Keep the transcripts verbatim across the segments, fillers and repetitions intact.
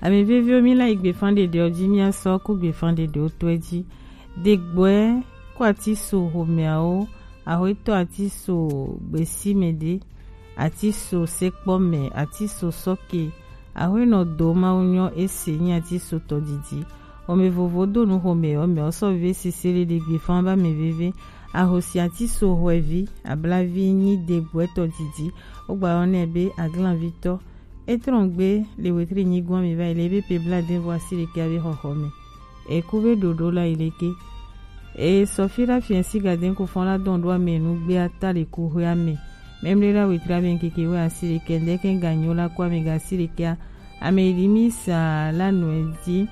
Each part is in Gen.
Ame veviwo, mi la yi gbefan ɖeɖewo ji, mi asɔ ku gbefan ɖeɖewo tɔe ji. Degbɔɛ ku atiso homeawo, ahoetɔ atiso gbesime ɖe, atiso sekpɔmɛ, atiso sɔke, ahoenɔ do mawu nyɔ ese nyi atiso tɔdidi. Home vovo do nu home ɔ mɛ ɔ sɔ veve sese le ɖe gbefan ba mɛ veve. Ahosi atiso hwɛvi, ablavi nyi degbɔɛ tɔdidi. Wogba yɔ nɛ be aglanvitɔ. Etrɔngbe le wetri nyigɔn mi va yi le ebe pe bla den vɔ asi ɖekɛ abe xɔxɔ mɛ. Eku be ɖoɖo la yi leke. E sɔfi la fiɛ si ga den ku fɔn la dɔn ɖo ame nu gbe ata le ku hwe ame. Mɛmle la wetri abe nkeke we asi ɖekɛ ndɛ kɛ ga nyo la ku ame ga asi ɖekɛ a. Ame yi di mi sa la nɔ e di.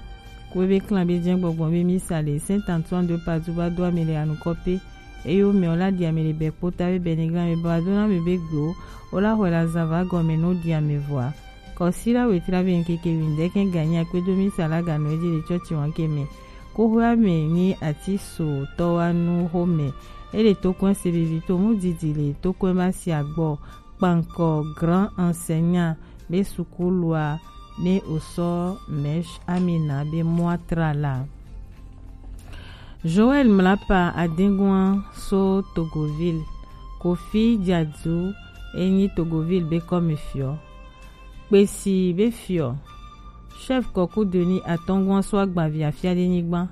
Ku ebe klan be jɛ gbɔgbɔ be mi sa le Saint Antoine de Padoue ba do ame le anukɔ pe. Eye wo mɛ wo la ɖi ame le bɛ kpota be bɛ ni glan me ba do na me be gbe wo. Wo la xɔe la zan va gɔme no ɖi ame vɔa. Kɔsi la wetri abe nkeke wi ndɛ kɛ ganyi akpe do mi sa la ga nɔ e di le tsɔtsi wan ke mɛ. Ko hwe ame ni ati so tɔ wa nu xo mɛ. E le to kɔn se vivi to mu didi le to kɔn ba si agbɔ. Kpankɔ grand enseignant be sukulua ne osɔ Mèche Amina be mɔa tra la. Joël Mlapa adengua so Togoville. Kofi Diadu enyi Togoville be kɔme fiɔ. Kpesi be fiɔ. Chef kɔku doni atɔngua so agbavi afia de nyigba.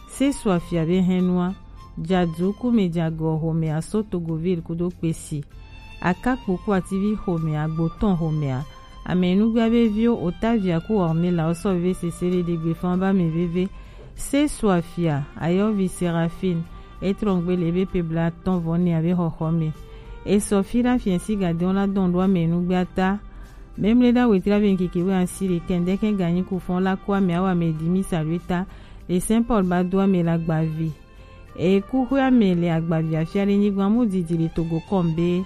Se so afia be hɛnua. Diadu kume diagɔ home aso Togoville kudo Kpesi. Akakpo ku ativi xomɛa, gbotɔn xomɛa, amɛnugbia be viwo Otavia ku Ornella wo sɔ veve sese le ɖegbe fan ba mɛ veve. Se so afia, ayɔvi Seraphine, etrɔngbe le ebe pe bla tɔn vɔ nɛ abe xɔxɔ mɛ. Esɔ fi la fiɛ si gadɛn la dɔn ɖo amɛnugbia ta. Mɛmle ɖa wetri abe nkeke we asi le kɛn ɖe kɛn ganyi ku fɔn la ku amɛ awa mɛ di mi sa ɖo eta. Le Saint Paul ba do amɛ la gbavi. Ekuxɔe ame le agbavia fia ɖe nyigba mu didi le Togo kɔn be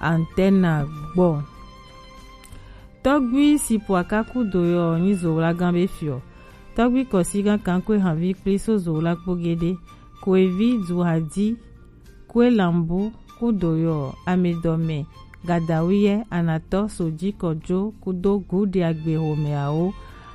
Antena gbɔ. Tɔgbui si po akaku do yɔ nyi zowlagan be fiɔ. Tɔgbui kɔsigan kankue hanvi kpli so zowla kpo gede. Koevi duhadi kue lambu kudo yɔ amedɔme. Gadawuyɛ, Anatɔ, Soji, Kɔjo kudo Gude agbe xomɛawo.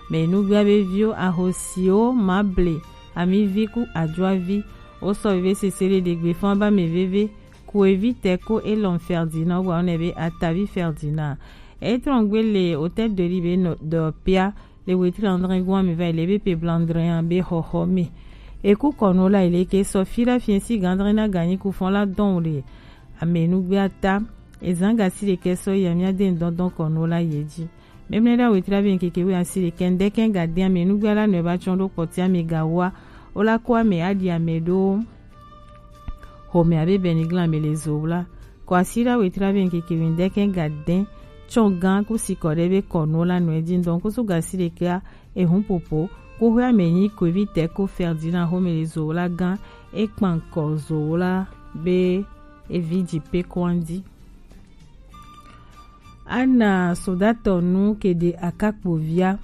Mɛnugbia be viwo, ahosiwo, mable, amivi ku ajuavi. Wo sɔ veve sese le ɖegbe fan ba mɛ veve. Kuevi tɛ ko elɔn Ferdinand wa ne be atavi Ferdinand. Etrɔngbe le Hôtel de Ville be nɔ dɔ pia le wetri andre gua mi va le be pe blandre be xɔxɔ mi. Eku kɔnu la ile ke sɔ fi la fiɛ si gandre na ganyi ku fɔn la dɔn le. Amɛnugbia ta, ezan gasi ɖekɛ sɔ yi amia de ŋdɔndɔn kɔnu la ye ji. Mɛmlɛ ɖa wetri abe nkeke we asi ɖekɛ ŋdɛkɛ ga de amɛnugbia la nɔ eba tsɔn ɖo kpɔti ame ga wa. Wo la ko ame aɖi ame ɖo. Xomɛ abe bɛniglan ame le zo la. Kɔ asi ɖa wetri abe nkeke we ŋdɛkɛ ga de. Tsɔn gan ku si kɔ ɖe be kɔnu la nɔ edi ŋdɔn ku su gasi ɖekɛ a ehun popo. Ku hwe ame nyi koevi tɛ ko Ferdinand xomɛ le zo la gan. Ekpan kɔ zo la be evi dzi pe kɔndi. Ana sodatɔ nu kede akakpovia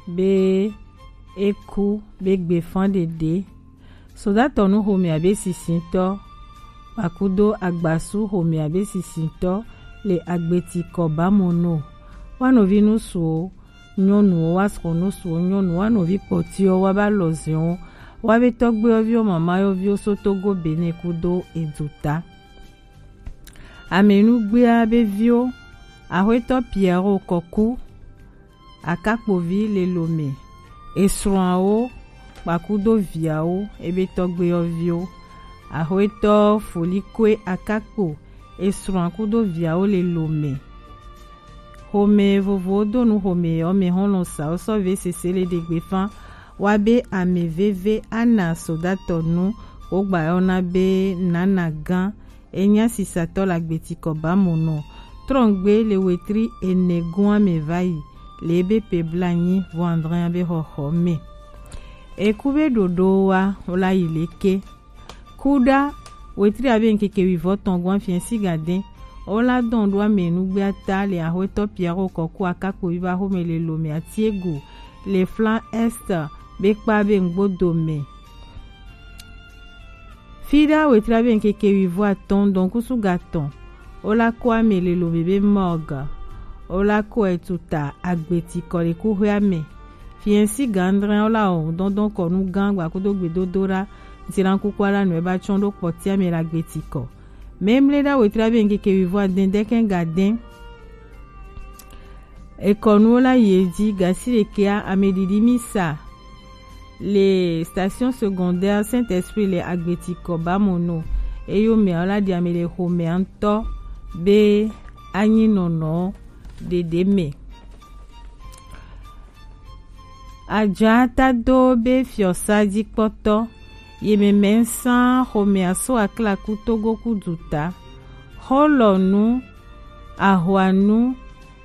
be eku be gbefan ɖeɖe. Sodatɔ nu xomɛ abe sisintɔ, kpakudo agbasu xomɛ abe sisintɔ le agbeti kɔ ba mo no. Wa novi nusuwo nyɔnuwo, wa srɔ nusuwo nyɔnu, wa novi kpɔtiwo, wa ba lɔziwo, wa be tɔgbewo viwo, mamayɔviwo so Togo Benin kudo eduta. Amɛnugbea be viwo, Axwetɔ Pierrot Kɔku, Akakpovi le Lome, esrɔ̃awo kpakudo viawo, ebe tɔgbewo viwo, Axwetɔ Folikwe Akakpo, esrɔ̃a kudo viawo le Lome. Xomɛ vovowo do nu xomɛ yɔ mɛ xɔlɔ̃ sawo sɔ ve sese le ɖegbe fan wa be ame veve ana sodatɔ nu wogba yɔna be nana gan. Enya sisatɔ la gbeti kɔ ba mo nɔ. Trɔngbe le wetri ene gɔn ame va yi le ebe pe blanyi vɔ andre be xɔxɔ mɛ. Eku be ɖoɖo wa wo la yi leke. Kuɖa wetri abe nkeke wivɔ tɔn gɔn afiɛ si gadɛn. Wo la dɔn ɖo ame nugbea ta le Axwetɔ Pierrot Kɔku Akakpovi va xomɛ le Lome Atiegu le Flan Est be kpa be ŋgbodo mɛ. Fiɖa wetri abe nkeke wivɔ atɔn dɔn kusu gatɔn. Wo la ko ame le Lome be morgue. Ola kɔe tuta agbetikɔ le kuxwea me. Fiɛnsi gandrɛn ola o dɔndɔn kɔnu gan gbakudo gbedodo ɖa. Ŋtilan kuku ala nɔe ba tsɔn ɖo kpɔtia me le agbetikɔ. Memle ɖa wetra be ŋkeke wivɔ adɛn dɛkɛn gadɛn. Ekɔnuwo la yi edzi gasi ɖekɛa ameɖiɖi misa le station secondaire Saint-Esprit le agbetikɔ bamono. Eyo mea la ɖi ame le xomea ŋutɔ be anyi nɔnɔ ɖeɖe me. Ajatado be fiɔsa dzikpɔtɔ yemɛmɛ sã xomea so aklaku Togo ku duta. Xɔlɔnu, ahwanu,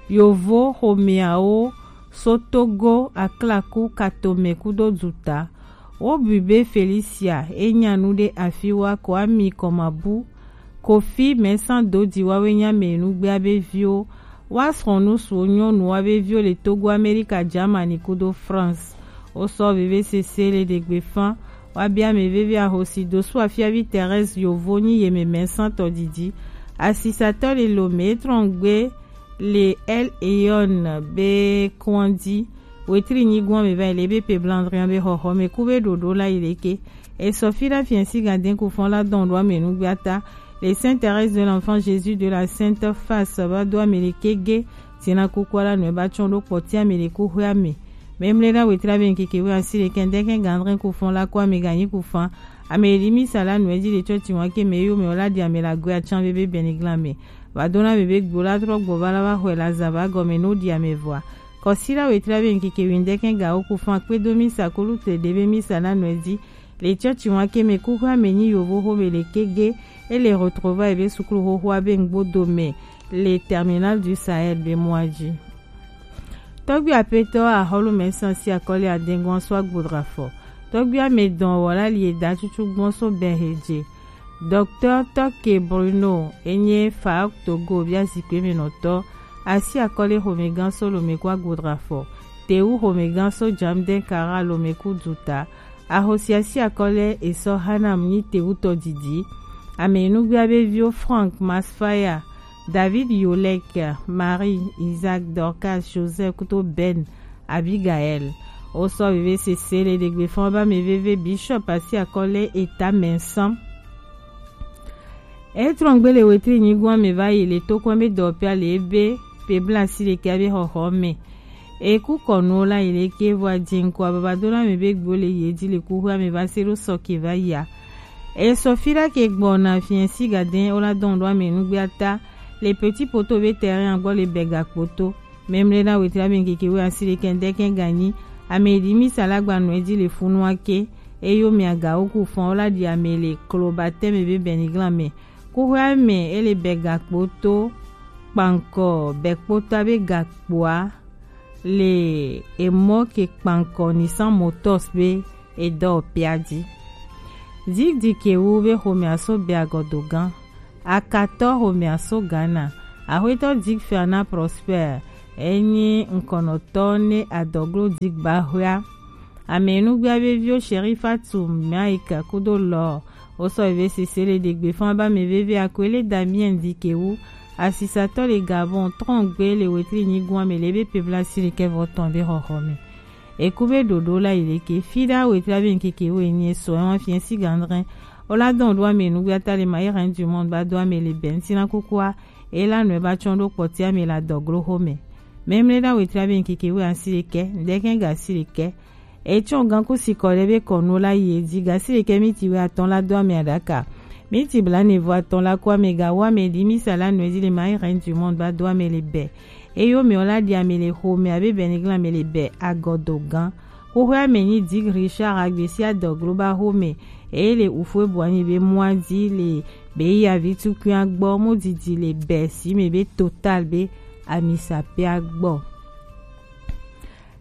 yovo xomeawo so Togo aklaku katome kudo duta. Wobui be Felicia enya nu ɖe afiwa ko ami kɔmabu Kofi mɛsã dodi wawe nya mɛ nugbea be viwo. Wa srɔ̃nu suwo nyɔnu wa be viwo le Togo, Amerika, Germany kudo France. Wo sɔ veve sese le ɖegbe fan. Wa bia mɛ veve ahosi dosu afiavi Thérèse yovo nyi yemɛ mɛsã tɔ didi. Asisatɔ le lo mɛ trɔngbe le El Eyon be kɔndi. Wetri nyigun ame va yi le ebe pe blandrian be xɔxɔ me ku be ɖoɖo la yi leke. Esɔ fi la fiɛnsi gadɛn ku fɔn la dɔn ɖo ame nugbe ata. Le Sainte Thérèse de l'Enfant Jésus de la Sainte Face va do ame le kege. Tina kuku la nɔe ba tsɔn ɖo kpɔti ame le ku xwe ame. Memle na wetri abe nkeke we asi le kɛndɛ kɛ gandrɛn ku fɔn la ku ame ganyi ku fan. Ame yi di misa la nɔe di le tsɔ ti wan ke me yo me o la di ame la gwe atsan be be bɛni glan me. Va do na be be gbo la trɔ gbɔ va la va xɔe la za va gɔme no di ame vɔa. Kɔsi la wetri abe nkeke we ndɛ kɛ ga o ku fan kpe do misa kulu te de be misa la nɔe di. Le tsɔ ti wan ke me ku xwe ame nyi yovo xo me le kege. E le retrouver be sukulu xoxo abe ngbo do me. Le terminal du Sahel be mɔa dzi. Tɔgbi apetɔ ahɔlu mɛ san si akɔli adengbɔn so agbodra fɔ. Tɔgbi ame dɔn wɔ la li eda tutu gbɔn so bɛn hedze. Docteur Tɔke Bruno enye fa Togo bia zikpe me nɔtɔ. Asi akɔli xomegã so lome ku agbodra fɔ. Tewu xomegã so jamden kara lome ku duta. Ahosia si akɔlɛ esɔ Hanam nyi tewutɔ didi. Ame nugbea be viwo Frank Masfaya, David Yolek, Marie, Isaac, Dorcas, Joseph kuto Ben, Abigail. Wo sɔ veve sese le ɖegbe fɔn ba me veve Bishop asi akɔlɛ eta mɛsɔn. Etrɔngbe le wetri nyigun ame va yi le tokɔn be dɔpia le ebe pe bla si le ke abe xɔxɔ me. Eku kɔnuwo la yi le ke vɔ adze ŋkɔ ababa do na me be gbo le yi edzi le kuxu ame va se ɖo sɔ ke va yia. Esɔ fi ɖa ke gbɔ na fiɛ si gadɛn wo la dɔn ɖo ame nugbe ata le petit poto be terrain gbɔ le bɛga kpoto. Memle na wetri ame nkeke we asi le kɛndɛ kɛ ganyi. Ame yi di misa la gba nɔ edzi le funu ake. Eyo mi aga wo ku fɔn wo la di ame le klo ba tɛ me be bɛni glan me. Kuxu ame ele bɛga kpoto kpankɔ bɛ kpoto abe gakpoa le emɔ ke kpankɔ Nissan Motors be edɔ pia dzi. Zigdi ke wu be xomea so be agɔdo gã. Akatɔ xomea so Ghana. Axwetɔ Dik Fernand Prosper enyi ŋkɔnɔtɔ ne adɔglo Dik ba xwea. Ame nugbea be viwo Sherifatu Mike kudo lɔ. Wo sɔ eve sese le ɖegbe fɔn ba me veve akwele Damien Dikewu. Asisatɔ le Gabon trɔngbe le wetri nyigun ame le be pebla si le kɛvɔ tɔn be xɔxɔ me. Eku be ɖoɖo la yi le ke fi ɖa wetri abe nkeke wo enyi esɔ ɛwan fiɛ si gandrɛn. Wo la dɔn ɖo ame nugbea ta le ma yi rɛn du monde ba do ame le bɛn si na kukua. E la nɔe ba tsɔn ɖo kpɔti ame la dɔglo xo me. Memle ɖa wetri abe nkeke wo asi le kɛ, ndɛ kɛ ga si le kɛ. Etsɔ ganku sikɔ ɖe be kɔnu la yi edzi gasi ɖekɛ miti wɛ atɔn la do ame aɖaka. Miti bla ne vo atɔn la ko ame ga wo ame di misa la nɔe di le ma rɛn du monde ba do ame le bɛ. Eyo me la di ame le xo me abe bɛ ne glan ame le bɛ agɔdo gan. Xoxo ame nyi di Richard agbesi adɔglo ba xo me. Eye le ufue bu anyi be mua di le be ya vi tukui agbɔ mo didi le bɛ si me be total be amisa pe agbɔ.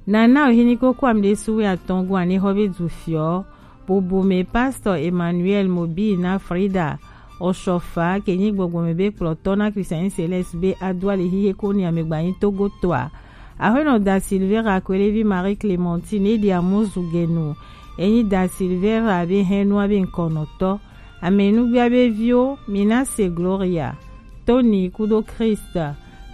Nana ohini koko amɖe suwe atɔn gu ane xɔ be du fiɔ. Bubu me Pastor Emmanuel Mobi na Frida Oshofa ke nyi gbɔgbɔ me be kplɔtɔ na Christian Celeste be adu ali hihe ko ni amegbanyi Togo toa. Aƒenɔ Da Silvera Kwelevi Marie Clementine edi amuzu genu. Enyi Da Silvera be hɛnua be ŋkɔnɔtɔ. Amenugbia be viwo, Minase Gloria, Tony kudo Christ,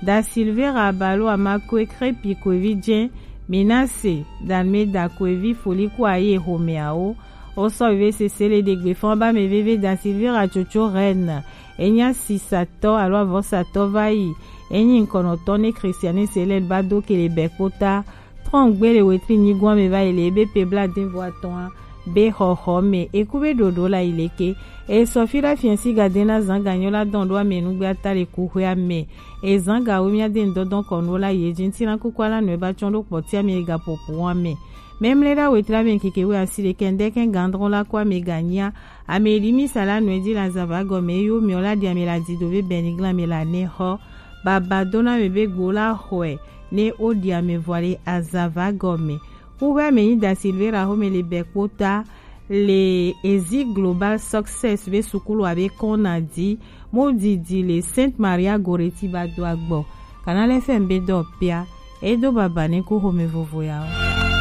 Da Silvera Balo Amakue Krepi Kwevi Djen, Minase Dalmeda Kwevi Foli Kwaye Homeawo. Osɔ veve sese le degbe fɔn ba me veve Da Silvera Tsotso Reine. Enya sisatɔ alo avɔsatɔ va yi. Enyi nkɔnɔtɔ ne Christiane Selel ba do kele bɛ kpota. Trɔn gbe le wetri nyigɔn me va yi le ebe pe bla den vo atɔn a. Be xɔxɔ me eku be ɖoɖo la yi leke. E sɔ fi la fiɛn si ga den na zan ga nyɔ la dɔn ɖo ame nugbe ata le kuxwe ame. E zan ga wo mia den dɔdɔn kɔnu la ye dzi ŋuti na kuku ala nɔe ba tsɔn ɖo kpɔtia me ga popo wa me. Memle ɖa wetri ame keke we asi le kɛndɛ kɛ gandrɔn la kɔ ame ga nyia. Ame ɖi mi sa la nɔe dzi la zava gɔme yo miɔ la ɖi ame la di do be bɛni glan me la ne xɔ. Baba dona me be gbo la xɔe ne o ɖi ame vɔ le azava gɔme. Kuxwe ame nyi Da Silvera xome le bɛ kpota le Ezi Global Success be sukulu abe kɔn na di mo didi le Sainte Maria Goretti ba do agbɔ. Kanal F M be dɔ pia. Edo baba ne ku xome vovo ya o.